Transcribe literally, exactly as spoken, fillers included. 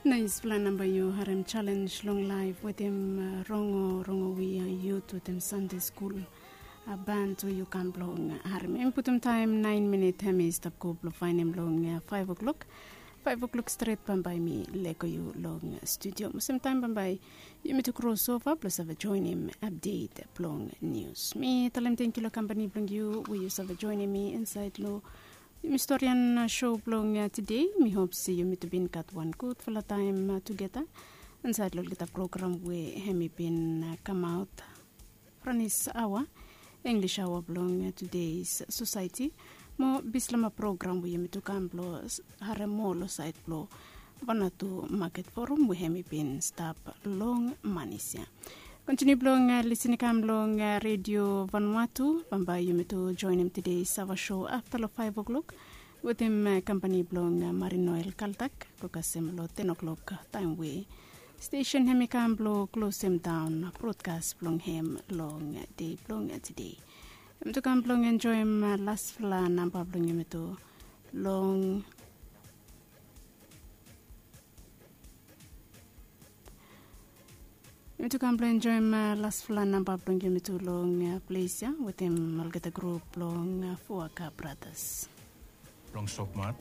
Naispela namba yu harim challenge long laif wetem rongo rongo wi yut wetem Sunday skul. Band we yu kam blong harim em putum taim nain minit hem i stap go blong fainim long faiv o'clock. Faiv o'clock stret bambae mi leko yu long studio mo sem taim bambae yumi tu krosova blong save joinim update blong nius. Mi talem tenkyu long kampani blong yu we yu save joinim mi insait long yumi storian show blong tide. Mi hop se yumi tu bin gat wan gudfala taim tugeta insait long olgeta program we hem i bin kamaot. Franis awa, English awa blong tudeis sosaeti mo bislama program we yumi tu kam blong harem moa long sait blong Vanuatu Market Forum we hem i bin stap long manis ya. Kontiniu blong lisin i kam long redio Vanuatu bambae yumi tu joinim tudeis awa show afta long faiv o'clock wetem kampani blong Marine Oil Kaltak go kasem long ten o'clock taim we stesen hem i kam blong klosem daon brodkas blong hem long dei blong tide. Hem tu kam blong enjoim lasfala namba blong yumi tu long yumi tu kam blong enjoim lasfala namba blong yumi tu long ples ya wetem olgeta grup blong Fuaka Bratas. Blong sopmat.